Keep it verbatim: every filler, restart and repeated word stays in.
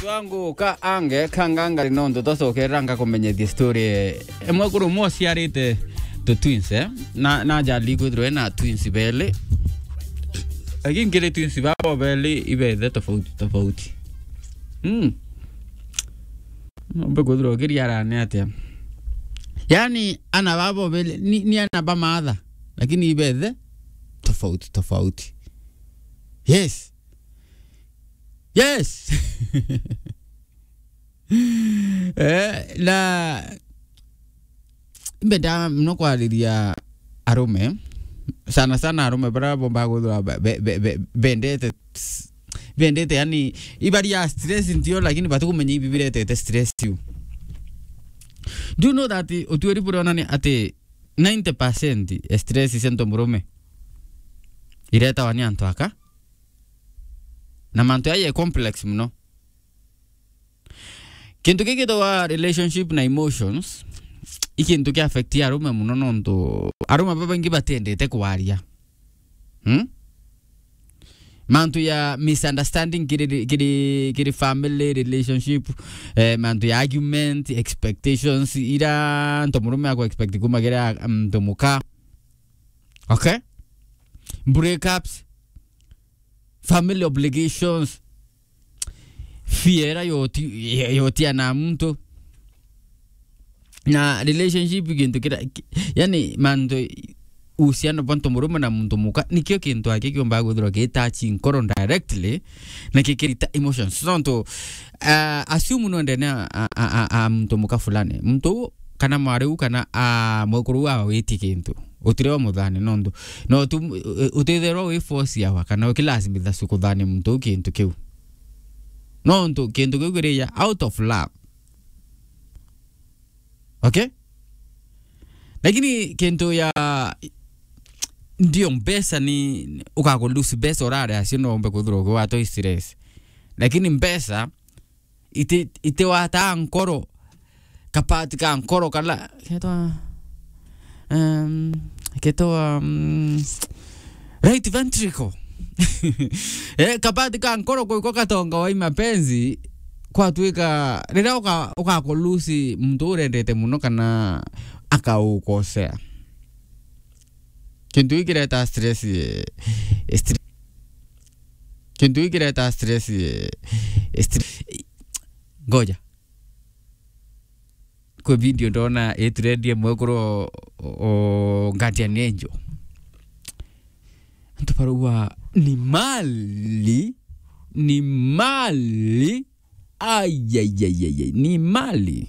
Wangu ka ange kangangari nontu twacokerera ngakumenyethia story. Emwe kuru mwe uciarite tu twins, eh? Na, na jali kwithirwa ena twins beli. Lakini kiri twins babo beli ibethe tofauti, tofauti. Mm. Nombe kwithirwa ukiriarane atia? Yani, ana babo beli, ni, ni ana ba maatha, lakini ibethe tofauti, tofauti. Yes. Yes. Eh, na mbenda muno kwariria arume, sana sana arume bara bomba guthura be-, be-, be-, be-, bendete, bendete, yani, ibari ya stress ntio, lakini batikumenya ibi biretete stress iu. Do you know that utuiri buria onani ati ninety percent ya stress cia ntomurume iretawa ni antu aka? Na mantu aya complex muno. Kintu giki gitagwa relationship na emotions, i kintu ki affect arume muno, nontu arume babaingi batiendete kwaria. Hmm? Mantu ya misunderstanding kiri, kiri, kiri family relationship, eh, mantu ya argument, expectations, ira ntomurume aku expect kuma kiri a-, ntomuka. Okay? Breakups, family obligations, fear yoti-, yotia na muntu. Na relationship kintu kira, ki-, yani mantu uhusiano bwa ntomurume na muntu muka, nikio kintu aki kiumba kwithirwa gitachi nkoro directly, na kikirita emotions. So, nontu, uh, assume no ndene a, a, a, a, a muntu muka fulani. Muntu u kana mwari u kana, a, mwekuru u awa witi kintu. Utire wa muthani nontu. No tu, u-, utitherwa wi force yawa kana ukilazimitha cukuthani muntu u kintu kiu. Nontu kintu kiu kiri ya out of love. Okay? Lakini kintu ya ndio mbeca ni ukaku lose mbeca urare acio no umbe kwithirwa ukiwatwa stress. Lakini mbeca iti, itiwataa nkoro, kapati ka nkoro kala ketwa, um, ketwa, um, right ventricle. Eh, kapati ka nkoro kwiko katonga wa imapenzi kwatwika riria uka-, ukakulusi muntu urendete muno kana akaukosea. Kintu giki kireta stress, eh, stre-, kintu giki kireta stress, eh, stre-, ngoja. Kwi video ndona itrendi mwekuru o, o, Guardian Angel. Antu barauga ni mali, ni mali. Ai, ai, ai, ai, ai, ni mali.